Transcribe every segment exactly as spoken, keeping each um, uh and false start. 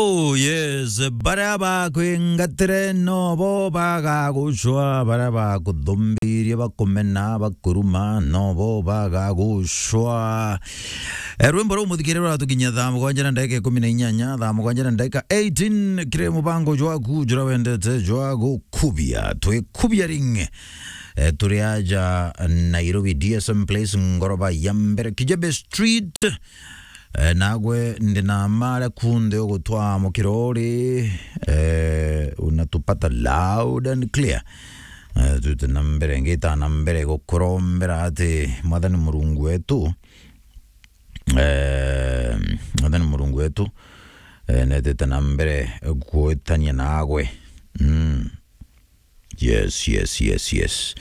Oh yes, baria bakwingatire nobo bagagucwa, baria bakuthumbirie, bakumena, bakuruma, nobo bagagucwa. Eh, rwimbo ruu muthikire ruratukinyia thaa mugwanja na ndagika ikumi na inyanya, thaa mugwanja na ndagika eighteen, kiri mubango jwaku jura wendete jwa gukubia. Twikubia ring. Eh, turi aja Nairobi, D S M Place, ngoroba ya mbere, Kijebe Street. Eh, nagwe ndi na mara kunde ugutwa mukirori, eh, unatupata loud and clear. Eh, twite na mbere, ngita na mbere gukurombera ati Mwathani Murungu wetu, eh, Mwathani Murungu wetu, eh, netite na mbere gwitania nagwe. Mm. Yes, yes, yes, yes.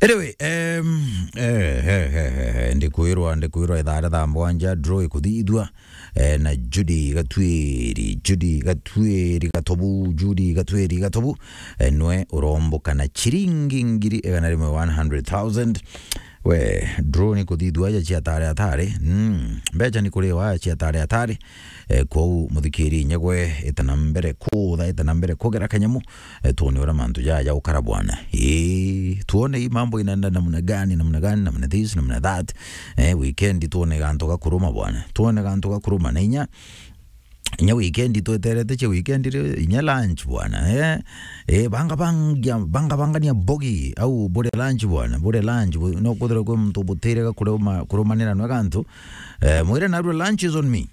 Anyway, um, eh, eh, eh, eh, eh, ndikwirwa, ndikwirwa ithaa ria thaa mugwanja, draw ikuthithua, eh, na Judy Gatwiri, Judy Gatwiri Gatobu, Judy Gatwiri Gatobu, eh, nwe uromboka na chiringi ngiri igana rimwe, one hundred thousand. We, draw ni kuthithua aja cia tare atare. Mm, mbecha ni kuriwa aja cia tare atare. Eh, kwou muthikiri nyegwe, ita na mbere kutha, ita na mbere kugera kanyamu, eh, tuone uria mantu jaja ukara bwana. Eh, tuone hii mambo inaenda namna gani, namna gani, namna this, namna that. Eh, weekend tuone gantu gakuruma bwana. Tuone gantu gakuruma na inya, inya weekend tweterete cia weekend ri, inya lunch bwana. Eh, eh, banga bangia, banga bangania bogi au bure lunch bwana, bure lunch, bu-, no kwithirwa kwi muntu butire ga kuruma-, kurumanira nwe gantu. Eh, mwire narua lunch is on me.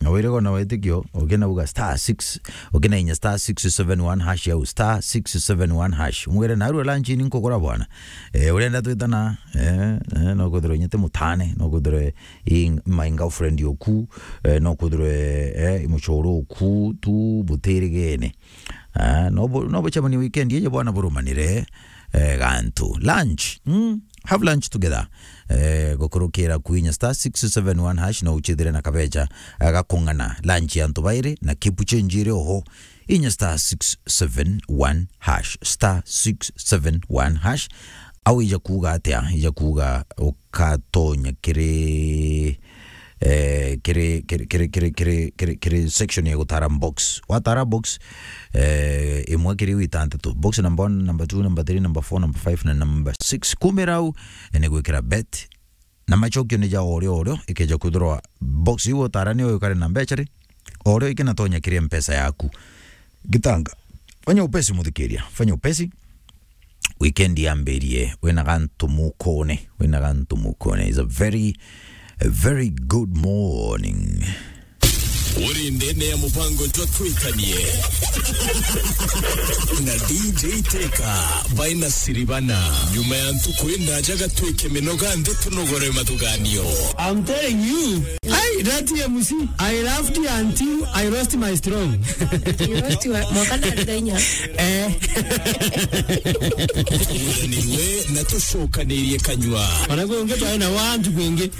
Na wire gona wetikio, ukinauga star six, ukinainya star six seven one hash au star six seven one hash. Mwire narua lunch ni nkugura bwana. Eh, urenda twitana, eh, eh, no kwithirwa inya ti mutane, no kwithirwa i my girlfriend oku, eh, no kwithirwa, eh, i muchoro oku, tu butirigene. Ah, no bu-, no bucemanie weekend iji bwana burumanire, eh, gantu. Lunch, mm, have lunch together. Eh, gukurukira kwinya star six seven one hash no uchithire na kabecha, eh, gakung'ana. Lunch ya antu bairi na keep change iri oho. Inya star six seven one hash, star six seven one hash. Au ija kuuga atia? Ija kuuga ukatonya kiri, eh, kiri, kiri section ya gutara box. Watara box, eh, imwe kiri iu itantatu. Box number one, number two, number three, number four, number five na number six. Kumira au, eh, ni gwikira bet. Na macokio ni ja orio orio, ikeja kwithirwa box iu utara niyo yukare na mbecha ri, orio ikinatonya kiri mpesa yaku. Gitanga. Fanya upesi muthikiria, fanya upesi. Weekend yambirie, wina gantu mukone, wina gantu mukone. It's a very, a very good morning. Uri ndene ya mubango jwa Twikanie na D J Teka baina Siribana. Nyuma ya ntuku indaja gatwike minoga nthi tunogore mathuganio. I'm telling you, hey, that M C, I laughed until I lost my strong. You lost your, mwaka na thenya. Eh. Turanirwe na tucokanirie kanyua. Ona kwi ungi twae na wantu kwingi.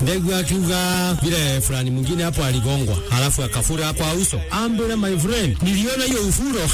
Ndegwa akiuga vile fulani mwingine hapo aligongwa, halafu akafura kwa uso. Ambira, my friend, niliona hiyo ufuro.